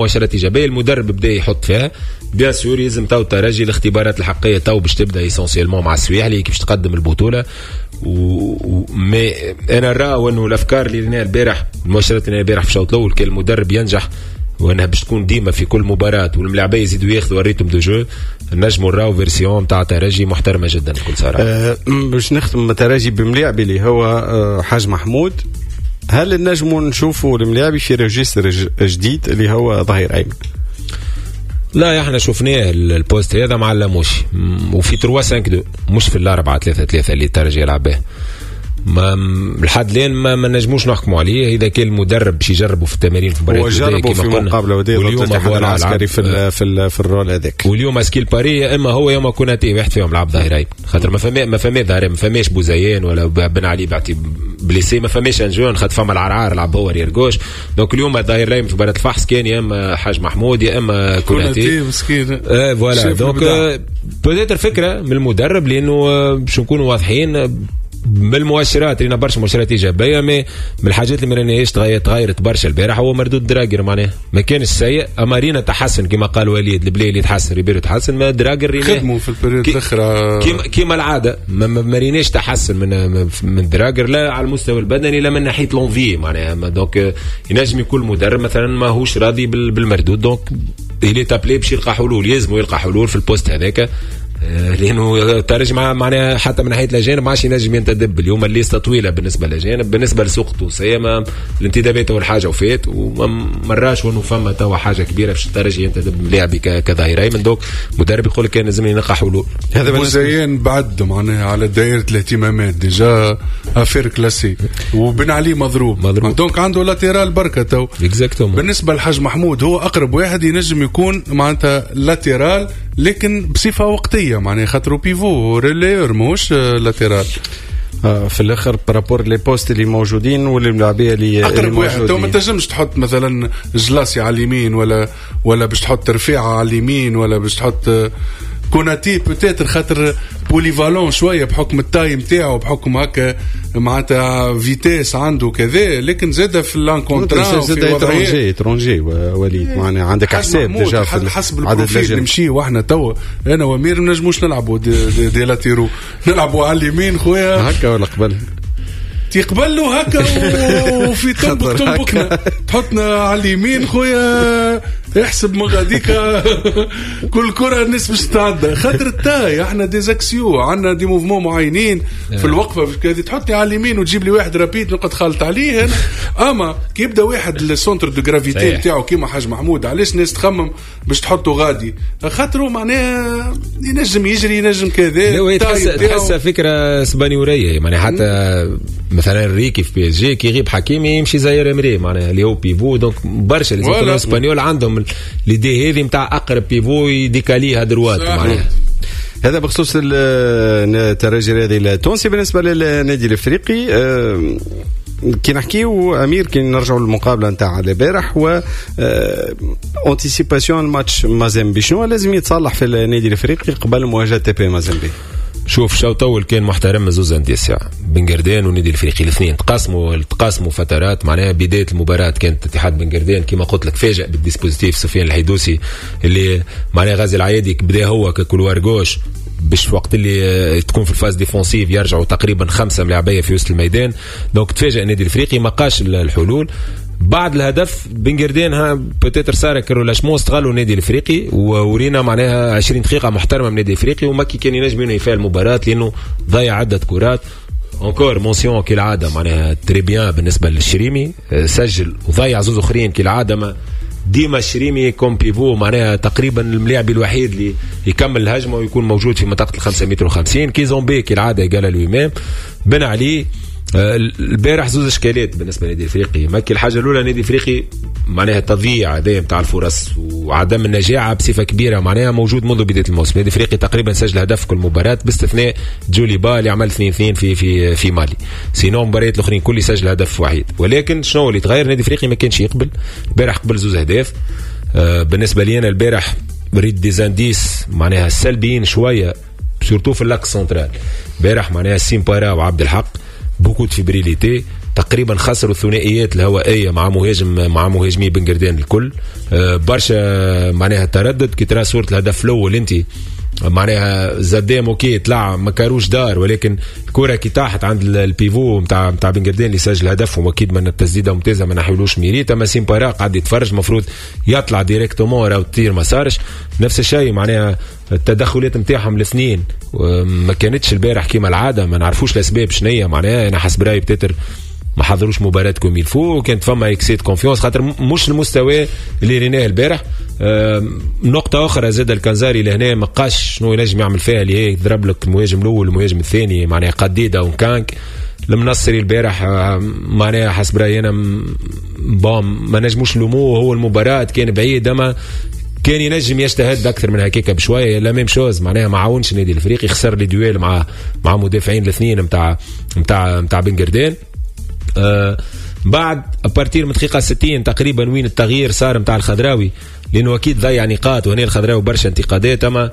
مؤشرات ايجابيه، المدرب بدا يحط فيها. bien sûr يلزم تو الترجي الاختبارات الحقيقية تو باش تبدا essentiellement مع السويحلي كيفاش تقدم البطوله. Mais انا نرى انه الافكار اللي ريناها البارح، المؤشرات اللي البارح في الشوط الاول، كان المدرب ينجح وانها باش تكون ديما في كل مباراة والملاعبيه يزيدوا ياخذوا ال rythme de jeu، نجموا نراو version تاع ترجي محترمه جدا بكل صراحه. باش نختم ترجي بملاعبي اللي هو حاج محمود، هل نجموا نشوفوا الملاعبي في registre جديد اللي هو ظهير ايمن؟ لا، احنا شفناه ال poste هذا مع اللاموشي وفي 3 5 2، مش في 4-3-3 اللي الترجي يلعب به. ما لحد الان ما نجموش نحكموا عليه. اذا كان المدرب باش يجربوا في التمارين في مباريات، هو جربوا في مقابله وديه ضد الاتحاد العسكري في ال rôle هذاك. واليوم à ce qu'il paraît يا اما هو يا اما كوناتي، واحد فيهم لعب ظهيرين، خاطر ما فما ظهير، ما فماش بوزيان ولا بن علي بعتي blessé، ما فماش un jeune، خاطر فما العرعار لعب هو arrière gauche. donc اليوم الظهير الايمن في مباراة الفحص كان يا اما حاج محمود يا اما كوناتي. مسكين. Voilà، donc peut-être فكرة من المدرب، لانه باش نكونوا واضحين بالمؤشرات، رينا برشا مؤشرات ايجابيه، mais من الحاجات اللي ما ريناهاش تغيرت برشا البارح هو مردود دراجر. معناها ما كانش سيء، اما رينا تحسن كما قال وليد، البلايلي تحسن، ريبيرو تحسن، mais دراجر رينا خدموا في ال période الاخرى. كيما العاده، ما ريناش تحسن من دراجر، لا على المستوى البدني لا من ناحية l'envie معناها. donc ينجم يكون المدرب مثلا ماهوش راضي بالمردود، donc il est appelé باش يلقى حلول، يلزم يلقى حلول في ال poste هذاك، لانه الترجي معناها حتى من ناحية الاجانب ما عادش ينجم ينتدب. اليوم ال liste طويلة بالنسبة للاجانب، بالنسبة للسوق التونسية ما الانتدابات اول حاجة وفات، وما مراش وانه فما توا حاجة كبيرة باش الترجي ينتدب لاعب كظهير ايمن. donc مدرب يقول لك كان لازم نلقى حلول. هذا بوزيان بعد معناها على دائرة الاهتمامات، déjà affaire classée، وبن علي مضروب. مضروب. donc عنده latéral بركة تو. Exactement. بالنسبة للحاج محمود هو اقرب واحد ينجم يكون معناتها latéral، لكن بصفة وقتيه، معناها خاطرو pivot relayeur ماهوش latéral. في الاخر par rapport les postes اللي موجودين والملاعبيه اللي اقرب واحد تو ما تنجمش تحط مثلا جلاسي على اليمين ولا باش تحط رفيعة على اليمين ولا باش تحط كوناتي peut-être، خاطر polyvalent شوية بحكم ال taille نتاعو، بحكم هكا معناتها vitesse عنده كذا، لكن زاد في l'un contre un. زاد étranger، étranger وليد، معناها عندك حساب déjà في حسب ال profil نمشي، واحنا توا انا وامير ما نجموش نلعبوا des latéraux، نلعبوا على اليمين خويا. هكا ولا قبل؟ تقبلوا هكا وفي تنبك تنبكنا، تحطنا على اليمين خويا، احسب من غاديك كل كره الناس باش تتعدى، خاطر ال taille، احنا des axiaux، عندنا des mouvements معينين في الوقفة في كذا. تحطني على اليمين وتجيب لي واحد rapide نقعد خالط عليه انا. اما كي يبدا واحد ال centre de gravité نتاعو كيما حاج محمود، علاش الناس تخمم باش تحطه غادي؟ خاطرو معناها ينجم يجري، ينجم كذا. تحس فكرة اسبانيوريه، معناها حتى مثلا انريكي في PSG كي يغيب حكيمي يمشي زاير امري معناها اللي هو pivot. donc برشا les Espagnols عندهم l'idée هذه نتاع اقرب pivot يديكاليه à droite معناها. هذا بخصوص الترجي الرياضي التونسي. بالنسبة للنادي الافريقي، كي نحكيو امير، كي نرجعوا للمقابله نتاع البارح و anticipation ماتش مازيمبي، شنو لازم يتصلح في النادي الافريقي قبل مواجهة تي بي مازيمبي؟ شوف، شوط اول كان محترم زوز اندية، بن قردان والنادي الافريقي الاثنين تقاسموا فترات. معناها بداية المباراة كانت اتحاد بن قردان كما قلت لك فاجأ بال dispositif سفيان الحيدوسي، اللي معناها غازي العيادي بدا هو ك couloir gauche، باش في وقت اللي تكون في ال phase défensive يرجعوا تقريبا خمسة ملاعبيه في وسط الميدان. donc تفاجئ النادي الافريقي، ما لقاش الحلول. بعد الهدف بن قردان ها peut-être صار relâchement، استغلوا النادي الافريقي وورينا معناها 20 دقيقة محترمه من النادي الافريقي، ومكي كان ينجم ينهي فيها المباراة لانه ضيع عده كرات. encore mention كالعادة معناها très bien بالنسبة للشريمي، سجل وضيع زوز اخرين كالعاده. ما ديما الشريمي comme pivot معناها تقريبا الملاعب الوحيد اللي يكمل الهجمة ويكون موجود في منطقة ال 5 متر و50. كيزومبي كالعادة égal à lui-même. بن علي، البارح زوز اشكالات بالنسبة للنادي الافريقي مكي. الحاجة الاولى، النادي الافريقي معناها تضييع هذايا نتاع الفرص وعدم النجاعه بصفة كبيرة معناها موجود منذ بداية الموسم. النادي الافريقي تقريبا سجل هدف كل مباراة باستثناء جوليبا اللي عمل 2-2 في مالي، sinon مباريات الاخرين كل سجل هدف وحيد. ولكن شنو اللي تغير؟ النادي الافريقي ما كانش يقبل، البارح قبل زوز اهداف. بالنسبة لي انا البارح ريت des indices معناها سلبيين شويه، surtout في l'axe central البارح، معناها سيمبارا وعبد الحق beaucoup de fébrilité. تقريبا خسروا الثنائيات الهوائية مع مهاجمي بن قردان الكل. برشا معناها تردد كي ترى صوره الهدف الاول انت معناها زدام OK طلع ما كاروش دار، ولكن الكره كي طاحت عند ال pivot نتاع بن قردان اللي سجل هدف، واكيد من التسديده ممتازة ما نحيلوش mérite. اما سيمبارا قاعد يتفرج المفروض يطلع directement راهو تطير ما صارش. نفس الشيء معناها التدخلات نتاعهم الاثنين ما كانتش البارح كيما العادة، ما نعرفوش الاسباب شنية. معناها انا حسب رايي peut-être ما حضروش مباراة comme il faut، كانت فما excès de confiance خاطر مش المستوى اللي ريناه البارح. نقطة أخرى زاد الكنزاري لهنا ما قاش شنو ينجم يعمل فيها، اللي هي يضرب لك المهاجم الأول والمهاجم الثاني معناها قديدة وكانك. المنصري البارح معناها حسب رأيي أنا bon ما نجموش نلوموه، هو المباراة كان بعيد أما كان ينجم يجتهد اكثر من هكاك بشوية. la même chose معناها ما عاونش النادي الافريقي، خسر les duels مع مدافعين الاثنين نتاع بن قردان. بعد à partir من دقيقة 60 تقريبا وين التغيير صار نتاع الخضراوي، لانه اكيد ضيع نقاط وهنا الخضراوي برشا انتقادات، اما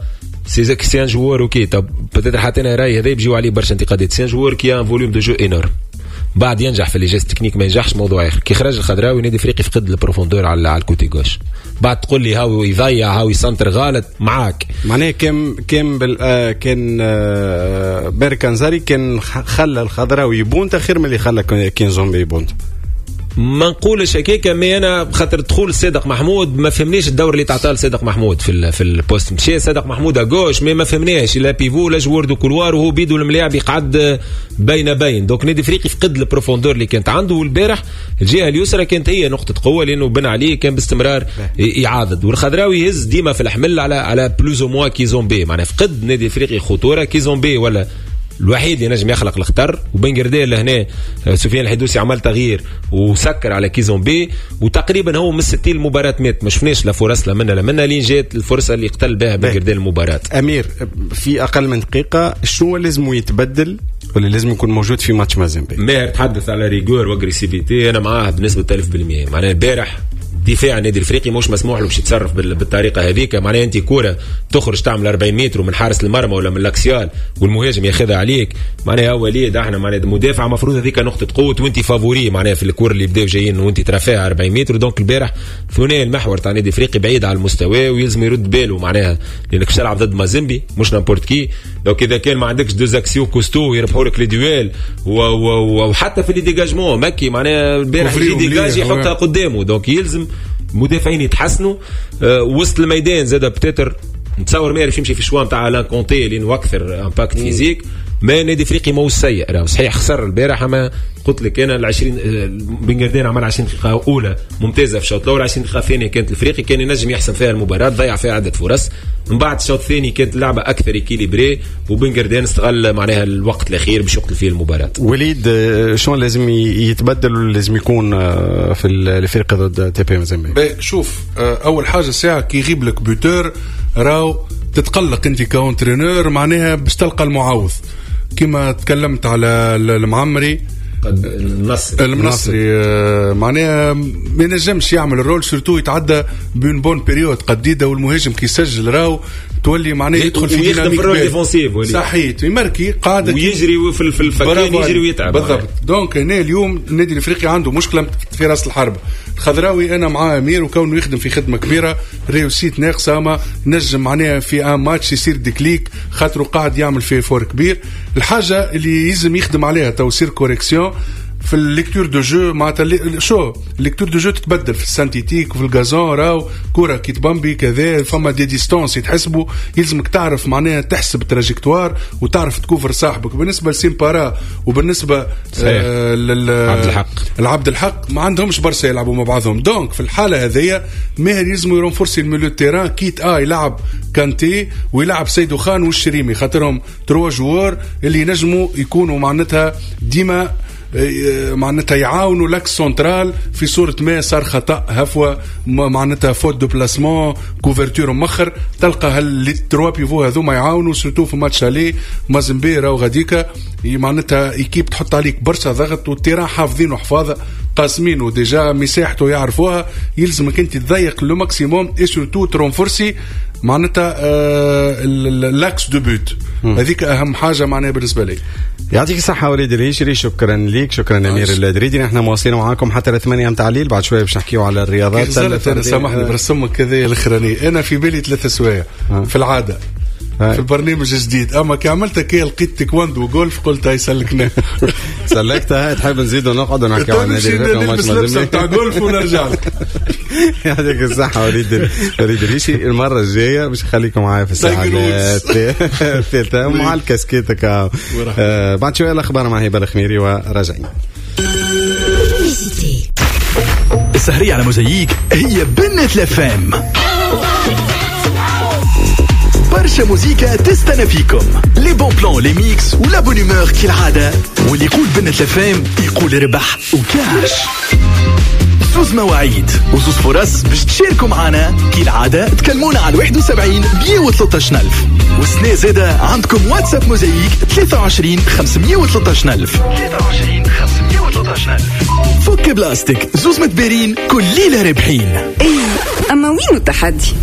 c'est un joueur OK طب peut-être حتى انا رايي هذا بيجيو عليه برشا انتقادات. c'est un joueur qui a un volume de jeu énorme، بعد ينجح في les gestes techniques ما ينجحش موضوع اخر. كي خرج الخضراوي نادي افريقي فقد ال profondeur على ال côté gauche. بعد تقول لي هاو يضيع هاو يسنتر غلط معاك، معناها كان بال كان ماهر كنزاري كان خلى الخضراوي يبونت خير من اللي خلى كينزومبي يبونت. ما نقولش هكاك، mais انا خاطر دخول صادق محمود ما فهمنيش الدور اللي تعطاه لصادق محمود في ال poste. مشى صادق محمود à gauche mais ما فهمناش لا pivot لا joueur de couloir، وهو بيدو الملاعب يقعد بين بين. donc نادي افريقي فقد ال profondeur اللي كانت عنده، والبارح الجهة اليسرى كانت هي نقطة قوة لانه بن علي كان باستمرار يعاضد، والخضراوي يهز ديما في الحمل على plus ou moins كيزومبي. معناها فقد نادي افريقي خطورة، كيزومبي ولا الوحيد اللي نجم يخلق الخطر. وبن قردان لهنا سفيان الحدوسي عمل تغيير وسكر على كيزومبي، وتقريبا هو من 60 المباراة مات، ما شفناش لا فرص لا منا لا منا لين جات الفرصة اللي قتل بها بن قردان المباراة. امير في اقل من دقيقة شنو لازم يتبدل ولا لازم يكون موجود في ماتش مازيمبي؟ ماهر تحدث على rigueur و agressivité، انا معاه بنسبة 1000%. معناها البارح دفاع النادي الافريقي مش مسموح له باش يتصرف بالطريقة هذيك. معناها انت كورة تخرج تعمل 40 متر من حارس المرمى ولا من l'axial والمهاجم ياخذها عليك، معناها وليد احنا معناها مدافع مفروض هذيك نقطة قوة وانت favori معناها في الكور اللي بداو جايين وانت ترافيها 40 متر. donc البارح ثنائي المحور تاع النادي الافريقي بعيد على المستوى ويلزم يرد باله معناها لانك باش تلعب ضد مازيمبي مش n'importe qui. donc اذا كان ما عندكش deux axiaux costauds يربحوا لك les duels وحتى في les dégagements مكي معناها البارح les dégages يحطها قدامه. donc يلزم المدافعين يتحسنوا. وسط الميدان زاد peut-être نتصور ما يعرف يمشي في choix نتاع الان كونتي لانه اكثر impact physique. ما نادي افريقي ماهوش سيء راهو صحيح خسر البارح، اما قلت لك انا ال 20 بن قردان عمل 20 دقيقة اولى ممتازة في الشوط الاول، 20 دقيقة ثانية كانت الافريقي كان ينجم يحسن فيها المباراة، ضيع فيها عده فرص. من بعد الشوط الثاني كانت اللعبة اكثر équilibrée وبن قردان استغل معناها الوقت الاخير باش يقتل فيه المباراة. وليد شنو لازم يتبدل ولا لازم يكون في الافريقي ضد تي بي مازيمبي؟ شوف اول حاجة ساعة كي يغيب لك buteur راهو تتقلق انت ك entraîneur معناها باش تلقى المعوض. كما تكلمت على المعمري المنصري معناها ما ينجمش يعمل ال rôle surtout يتعدى ب une bonne période قديده، والمهاجم كي يسجل راهو تولي معناها يدخل في dynamique في ال rôle défensif صحيت يمركي قاعدة ويجري في الفكين يجري ويتعب بالضبط. donc هنا اليوم النادي الافريقي عنده مشكلة في راس الحربة. الخضراوي انا معاه امير وكونه يخدم في خدمة كبيرة، réussite ناقصه اما نجم معناها في un match يصير déclic خاطره قاعد يعمل في effort كبير. الحاجة اللي يلزم يخدم عليها تو يصير correction في ال lecture de jeu معناتها شو ال lecture de jeu تتبدل في ال synthétique وفي ال gazon راهو كره كي تبامبي كذا فما des distances يتحسبوا، يلزمك تعرف معناها تحسب trajectoire وتعرف تكوفر صاحبك. بالنسبة لسيمبارا وبالنسبة عبد الحق العبد الحق ما عندهمش برشا يلعبوا مع بعضهم. donc في الحالة هذيا ماهر يلزم يرونفورسي ال milieu terrain quitte à يلعب كانتي ويلعب سيدو خان والشريمي خاطرهم trois joueurs اللي ينجموا يكونوا معناتها ديما معناتها يعاونوا l'axe central في صورة ما صار خطأ هفوة معناتها faute de placement couverture مخر تلقى هال les trois pivots هذوما يعاونوا surtout في match aller مازمبي راهو غاديكا معناتها équipe تحط عليك برشا ضغط وال terrain حافظينه حفاظه قاسمينه déjà مساحته يعرفوها، يلزمك انت تضيق le maximum et surtout ترونفورسي معناتها l'axe de but، هذيك اهم حاجة معناها بالنسبة لي. يعطيك الصحة وليد الهيشري، شكرا ليك، شكرا أمير الدريدي. نحن مواصلين معاكم حتى 8 متاع الليل، بعد شوية باش نحكيو على الرياضات. أنا سامحني برسمك كذا الأخراني، أنا في بالي 3 سوايع في العادة في البرنامج الجديد، اما كي عملت كي لقيت تايكواندو وجولف قلت هاي سلكنا. سلكتها. تحب نزيد ونقعد ونحكيو عن النادي نلبس لبسه نتاع جولف ونرجع لك. يعطيك الصحة وليد الريشي. المرة الجاية باش نخليكم معايا في الساعة الثالثة مع الكاسكيتك. بعد شوية الأخبار مع هبة الخميري وراجعين. السهرية على موزايك هي بنة الأفام، برشا موزيكا تستنى فيكم، les bons plans، les mix و la bonne humeur كالعادة. واللي يقول بنة الأفام يقول ربح وكاش. زوز مواعيد وزوز فرص باش تشاركوا معنا كالعادة. تكلمونا على 71 113 ألف. والسنة زادة عندكم واتساب موزايك 23 513 ألف. 23 513 ألف. فك بلاستيك، زوز متبارين كل ليلة رابحين. ايه اما وين التحدي؟